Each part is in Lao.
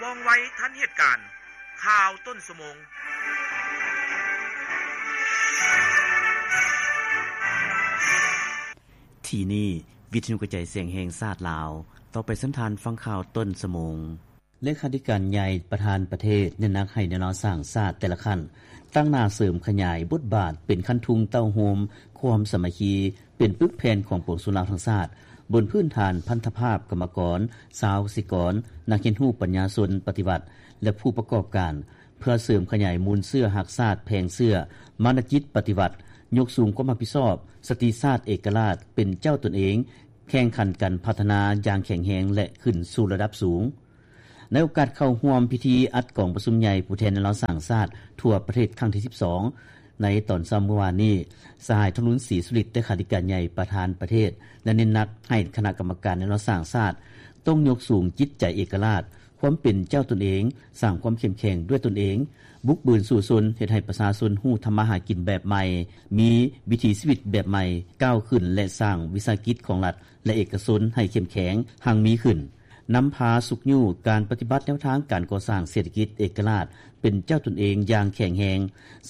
ວ່ອງໄວທັນເຫດການ. ຂ່າວຕົ້ນຊົ່ວໂມງ. ທີ່ນີ້ ວິທະຍຸກະຈາຍສຽງແຫ່ງຊາດລາວ. ຕໍ່ໄປເຊີນທ່ານຟັງຂ່າວຕົ້ນຊົ່ວໂມງ. ເລຂາທິການໃຫຍ່ປະທານປະເທດເນັ້ນໜັກໃຫ້ແນວລາວສ້າງຊາດແຕ່ລະຂັ້ນ ຕັ້ງໜ້າເສີມຂະຫຍາຍບົດບາດເປັນຄັນທຸງເຕົ້າໂຮມຄວາມສາມັກຄີ ເປັນປຶກແຜ່ນຂອງປວງຊົນລາວທັງຊາດ ບົນພື້ນຖານພັນທະພາບກຳມະກອນ, ຊາວກະສິກອນ, ນັກຮຽນຮູ້ປັນຍາຊົນປະຕິວັດ ແລະ ຜູ້ປະກອບການ ເພື່ອເສີມຂະຫຍາຍມູນເຊື້ອຮັກຊາດແພງເຊື້ອ, ມານະຈິດປະຕິວັດ, ຍົກສູງຄວາມຮັບຜິດຊອບ, ສະຕິຊາດເອກະລາດ, ເປັນເຈົ້າຕົນເອງ, ແຂ່ງຂັນກັນພັດທະນາຢ່າງແຂງແຮງ ແລະ ຂຶ້ນສູ່ລະດັບສູງ. ໃນໂອກາດເຂົ້າຮ່ວມພິທີອັດກອງປະຊຸມໃຫຍ່ຜູ້ແທນແນວລາວສ້າງຊາດທົ່ວປະເທດຄັ້ງທີສິບສອງ ໃນຕອນເຊົ້າມື້ວານນີ້, ສະຫາຍ ທອງລຸນ ສີສຸລິດ ເລຂາທິການໃຫຍ່ປະທານປະເທດ ໄດ້ເນັ້ນໜັກໃຫ້ຄະນະກຳມະການແນວລາວສ້າງຊາດ ຕ້ອງຍົກສູງຈິດໃຈເອກະລາດ, ຄວາມເປັນເຈົ້າຕົນເອງ, ສ້າງຄວາມເຂັ້ມແຂງດ້ວຍຕົນເອງ, ບຸກບືນສູ້ຊົນ, ເຮັດໃຫ້ປະຊາຊົນຮູ້ທຳມາຫາກິນແບບໃໝ່, ມີວິຖີຊີວິດແບບໃໝ່, ກ້າວຂຶ້ນ ແລະ ສ້າງວິສາຫະກິດຂອງລັດ ແລະ ເອກະຊົນໃຫ້ເຂັ້ມແຂງ, ຮັ່ງມີຂຶ້ນ. ນຳພາຊຸກຍູ້ການປະຕິບັດແນວທາງການກໍ່ສ້າງເສດຖະກິດເອກະລາດ ເປັນເຈົ້າຕົນເອງຢ່າງແຂງແຮງ,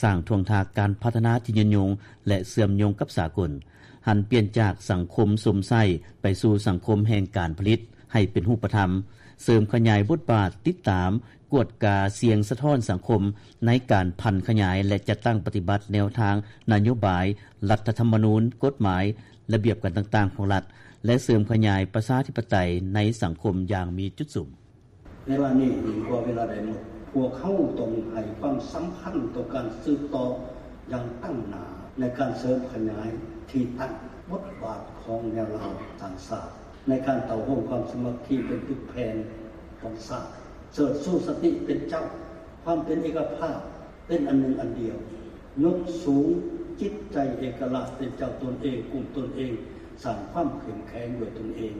ສ້າງທ່ວງທາກການພັດທະນາທີ່ຍືນຍົງ ແລະ ເຊື່ອມໂຍງກັບສາກົນ, ຫັນປ່ຽນຈາກສັງຄົມຊົມໃຊ້ໄປສູ່ສັງຄົມແຫ່ງການຜະລິດໃຫ້ເປັນຮູບປະທຳ, ເສີມຂະຫຍາຍບົດບາດຕິດຕາມ, ກວດກາສຽງສະທ້ອນສັງຄົມໃນການຜັນຂະຫຍາຍ ແລະ ຈັດຕັ້ງປະຕິບັດແນວທາງນະໂຍບາຍ, ລັດຖະທຳມະນູນ, ກົດໝາຍ, ລະບຽບການຕ່າງໆຂອງລັດ ແລະ ເສີມຂະຫຍາຍປະຊາທິປະໄຕໃນສັງຄົມຢ່າງມີຈຸດສຸມ. ເວລານີ້ດີກວ່າເວລາໃດໝົດ, ພວກເຮົາຕ້ອງໃຫ້ຄວາມສຳຄັນຕໍ່ການສືບຕໍ່ຢ່າງຕັ້ງໜ້າໃນການເສີມຂະຫຍາຍທີ່ຕັ້ງບົດບາດຂອງແນວລາວສ້າງຊາດ ໃນການເຕົ້າໂຮມຄວາມສາມັກຄີເປັນປຶກແຜ່ນຂອງຊາດ, ເຊີດຊູສະຕິເປັນເຈົ້າ, ຄວາມເປັນເອກະພາບ, ເປັນອັນໜຶ່ງອັນດຽວ, ຍົກສູງຈິດໃຈເອກະລາດເປັນເຈົ້າຕົນເອງ, ກຸ້ມຕົນເອງ, ສ້າງຄວາມເຂັ້ມແຂງດ້ວຍຕົນເອງ,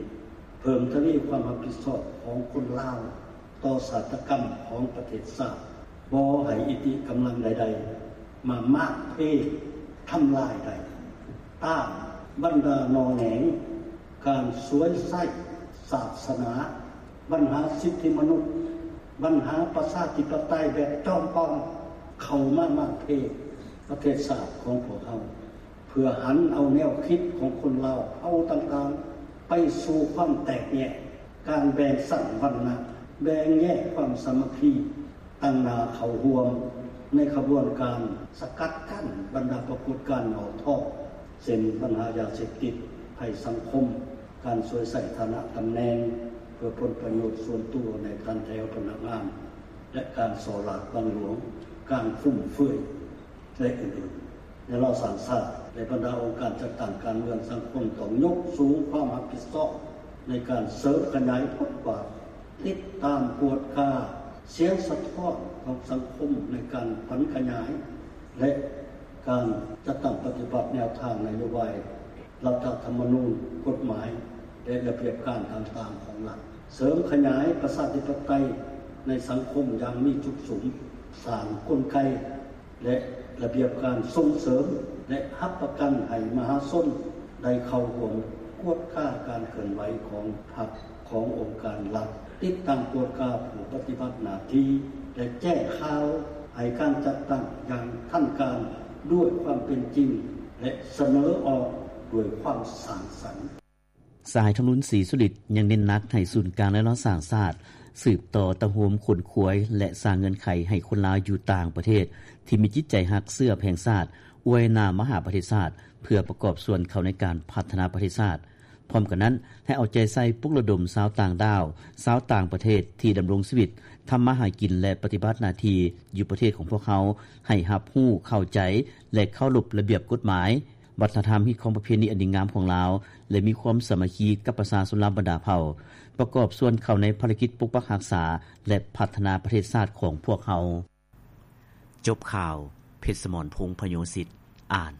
ເພີ່ມທະວີຄວາມຮັບຜິດຊອບຂອງຄົນລາວຕໍ່ຊາຕາກຳຂອງປະເທດຊາດ, ບໍ່ໃຫ້ອິດທິກຳລັງໃດໆມາມ້າງເພ ທຳລາຍໄດ້, ຕ້ານບັນດາໜໍ່ແໜງ ການສວຍໃຊ້ສາສະໜາ, ບັນຫາສິດທິມະນຸດ, ບັນຫາປະຊາທິປະໄຕແບບຈອມປອມ ເຂົ້າມາມ້າງເພປະເທດຊາດຂອງພວກເຮົາ, ເພື່ອຫັນເອົາແນວຄິດຂອງຄົນລາວເຜົ່າຕ່າງໆ ໄປສູ່ຄວາມແຕກແຍກ, ການແບ່ງຊັ້ນວັນນະ, ແບ່ງແຍກຄວາມສາມັກຄີ, ຕັ້ງໜ້າເຂົ້າຮ່ວມໃນຂະບວນການສະກັດກັ້ນບັນດາປາກົດການຫຍໍ້ທໍ້ ເຊັ່ນ ບັນຫາຢາເສບຕິດ, ໄພສັງຄົມ, ການສວຍໃຊ້ຖານະຕຳແໜ່ງເພື່ອຜົນປະໂຫຍດສ່ວນຕົວໃນຂັ້ນແຖວພະນັກງານ ແລະ ການສໍ້ລາດບັງຫຼວງ, ການຟຸມເຟືອຍ ແລະ ອື່ນໆ. ແນວລາວສ້າງຊາດ ແລະ ບັນດາອົງການຈັດຕັ້ງການເມືອງສັງຄົມ ຕ້ອງຍົກສູງຄວາມຮັບຜິດຊອບໃນການເສີມຂະຫຍາຍບົດບາດ ຕິດຕາມກວດກາສຽງສະທ້ອນຂອງສັງຄົມໃນການຜັນຂະຫຍາຍ ແລະ ການຈັດຕັ້ງປະຕິບັດແນວທາງນະໂຍບາຍ ລັດຖະທຳມະນູນ, ກົດໝາຍ ແລະ ລະບຽບການຕ່າງໆຂອງລັດ, ເສີມຂະຫຍາຍປະຊາທິປະໄຕໃນສັງຄົມຢ່າງມີຈຸດສຸມ, ສ້າງກົນໄກ ແລະ ລະບຽບການສົ່ງເສີມ ແລະ ຮັບປະກັນໃຫ້ມະຫາຊົນໄດ້ເຂົ້າຮ່ວມກວດກາການເຄື່ອນໄຫວຂອງພັກ, ຂອງອົງການລັດ, ຕິດຕັ້ງກວດກາຜູ້ປະຕິບັດໜ້າທີ່ ແລະ ແຈ້ງຂ່າວໃຫ້ການຈັດຕັ້ງຢ່າງທັນການດ້ວຍຄວາມເປັນຈິງ ແລະ ສະເໜີອອກດ້ວຍຄວາມສ້າງສັນ. ສະຫາຍ ທອງລຸນ ສີສຸລິດ ຍັງເນັ້ນໜັກໃຫ້ສູນກາງແນວລາວສ້າງຊາດ ສືບຕໍ່ເຕົ້າໂຮມຂົນຂວາຍ ແລະ ສ້າງເງື່ອນໄຂໃຫ້ຄົນລາວຢູ່ຕ່າງປະເທດ ທີ່ມີຈິດໃຈຮັກເຊື້ອແພງຊາດ ອວຍໜ້າມະຫາປະເທດຊາດ ເພື່ອປະກອບສ່ວນເຂົ້າໃນການພັດທະນາປະເທດຊາດ. ພ້ອມກັນນັ້ນ, ໃຫ້ເອົາໃຈໃສ່ປຸກລະດົມຊາວຕ່າງດ້າວ, ຊາວຕ່າງປະເທດທີ່ດຳລົງຊີວິດ, ທຳມາຫາກິນ ແລະ ປະຕິບັດໜ້າທີ່ຢູ່ປະເທດຂອງພວກເຮົາ ໃຫ້ຮັບຮູ້, ເຂົ້າໃຈ ແລະ ເຄົາລົບລະບຽບກົດໝາຍ, ວັດທະນະທຳ, ຮີດຄອງປະເພນີອັນດີງາມຂອງລາວ ແລະ ມີຄວາມສາມັກຄີກັບປະຊາຊົນລາວບັນດາເຜົ່າ, ປະກອບສ່ວນເຂົ້າໃນພາລະກິດປົກປັກຮັກສາ ແລະ ພັດທະນາປະເທດຊາດຂອງພວກເຮົາ. ຈົບຂ່າວ, ເພັດສະໝອນ ພົງພະໂຍສິດ ອ່ານ.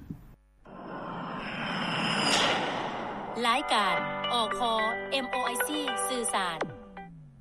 ລາຍການ ອຄ ເອັມໂອໄອຊີ ສື່ສານ.